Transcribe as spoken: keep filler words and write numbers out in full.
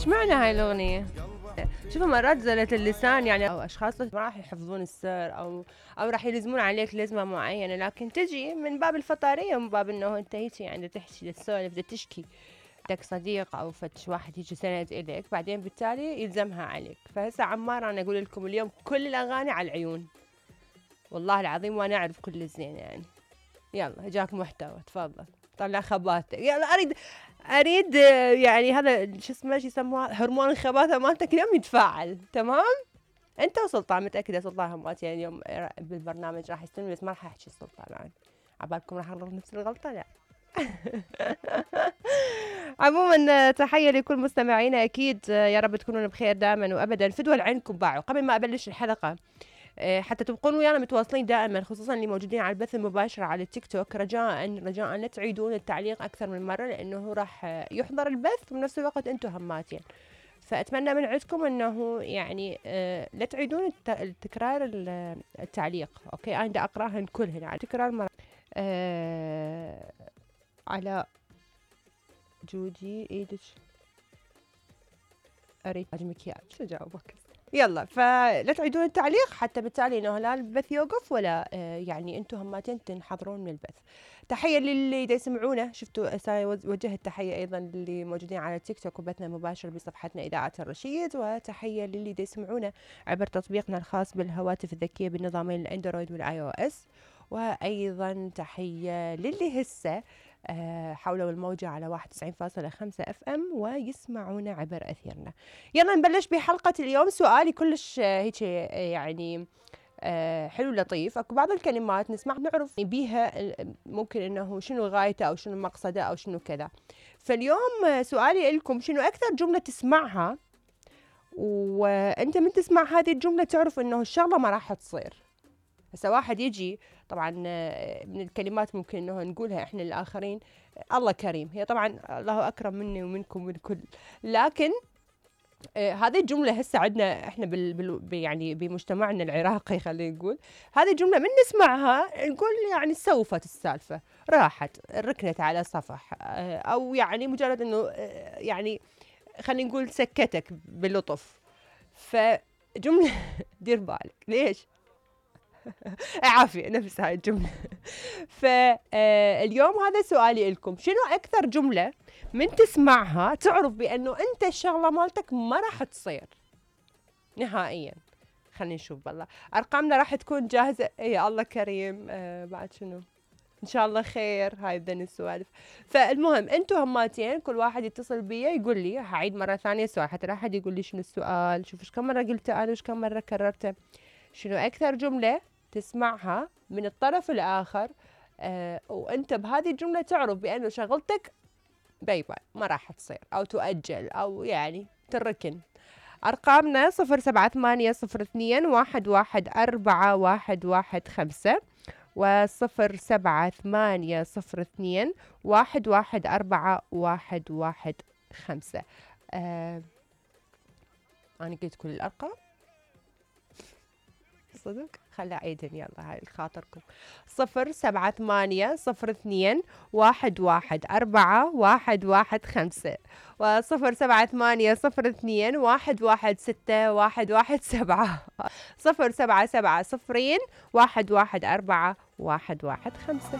ايش معنى هاي الاغنية؟ شوفوا مرات زلة اللسان يعني او اشخاص ما راح يحفظون السر او او راح يلزمون عليك لزمة معينة، لكن تجي من باب الفطارية ومن باب انه انت هيجي يعني تحكي تسولف بدك تشكي بدك صديق او فتش واحد يجي سند اليك، بعدين بالتالي يلزمها عليك. فهسه عمار انا اقول لكم اليوم كل الاغاني على العيون والله العظيم، وانا اعرف كل الزين يعني. يلا جاك محتوى، تفضل طلع خباتك. يلا اريد اريد يعني هذا شو اسمه شو يسموها هرمون الخباثه مالتك اليوم يتفاعل. تمام انت وسلطان، متاكده سلطان همات يعني اليوم بالبرنامج راح يستلم، بس ما راح احكي سلطان يعني عبالكم راح اغلط نفس الغلطه. لا عموما تحيه لكل مستمعينا اكيد، يا رب تكونون بخير دائما وابدا. فدوا لعينكم باعوا قبل ما ابلش الحلقه حتى تبقون ويانا متواصلين دائما، خصوصا اللي موجودين على البث المباشر على التيك توك. رجاء رجاء لا تعيدون التعليق اكثر من مره، لانه راح يحضر البث وبنفس الوقت انتم هماتين. فاتمنى من عندكم انه يعني آه لا تعيدون التكرار التعليق. اوكي انا بدي اقراهن كلهن على تكرار مره. آه على جودي ايدك اريد مكياج شو جاوبك. يلا فلا تعيدون التعليق حتى بالتالي انه لا البث يوقف ولا آه يعني انتم هماتين تنحضرون من البث. تحيه للي دا يسمعونا، شفتوا وجهت تحيه ايضا للي موجودين على التيك توك وبثنا مباشر بصفحتنا اذاعه الرشيد، وتحيه للي دا يسمعونا عبر تطبيقنا الخاص بالهواتف الذكيه بالنظامين الاندرويد والاي او اس. وايضا تحيه للي هسه أه حولوا الموجة على واحد وتسعين فاصلة خمسة اف ام ويسمعونا عبر اثيرنا. يلا نبلش بحلقة اليوم. سؤالي كلش هيك يعني أه حلو لطيف. اكو بعض الكلمات نسمع نعرف بيها ممكن انه شنو غايته او شنو مقصده او شنو كذا. فاليوم سؤالي لكم شنو اكثر جملة تسمعها وانت من تسمع هذه الجملة تعرف انه الشغلة ما راح تصير. هسه واحد يجي طبعا من الكلمات ممكن انه نقولها احنا الاخرين الله كريم، هي طبعا الله اكرم مني ومنكم والكل، لكن آه هذه الجمله هسه عندنا احنا بال, بال يعني بمجتمعنا العراقي خلينا نقول هذه الجمله من نسمعها نقول يعني سوفت السالفه، راحت ركنت على صفح آه او يعني مجرد انه آه يعني خلينا نقول سكتك بلطف. فجمله دير بالك ليش عافية نفس هاي الجملة. فاليوم هذا سؤالي لكم، شنو أكثر جملة من تسمعها تعرف بأنه أنت الشغلة مالتك ما راح تصير نهائيا؟ خلينا نشوف بالله أرقامنا راح تكون جاهزة. يا الله كريم. آه بعد شنو إن شاء الله خير. هاي ذن السوالف. فالمهم أنتوا هماتين كل واحد يتصل بيا يقول لي، هعيد مرة ثانية السؤال حتى لا أحد يقول لي شنو السؤال. شوف إيش كم مرة قلته أنا وإيش كم مرة كررته. شنو أكثر جملة تسمعها من الطرف الآخر آه وأنت بهذه الجملة تعرف بأنه شغلتك باي باي ما راح تصير أو تؤجل أو يعني تركن. أرقامنا صفر سبعة ثمانية صفر اثنين واحد واحد أربعة واحد واحد خمسة وصفر سبعة ثمانية صفر اثنين واحد واحد أربعة واحد واحد خمسة. آه أنا قلت كل الأرقام صدق. خلى عيدن يلا هاي الخاطركم. صفر سبعة ثمانية صفر اثنين واحد واحد أربعة واحد واحد خمسة وصفر سبعة ثمانية صفر اثنين واحد واحد ستة واحد واحد سبعة صفر سبعة سبعة صفرين واحد واحد أربعة واحد واحد خمسة.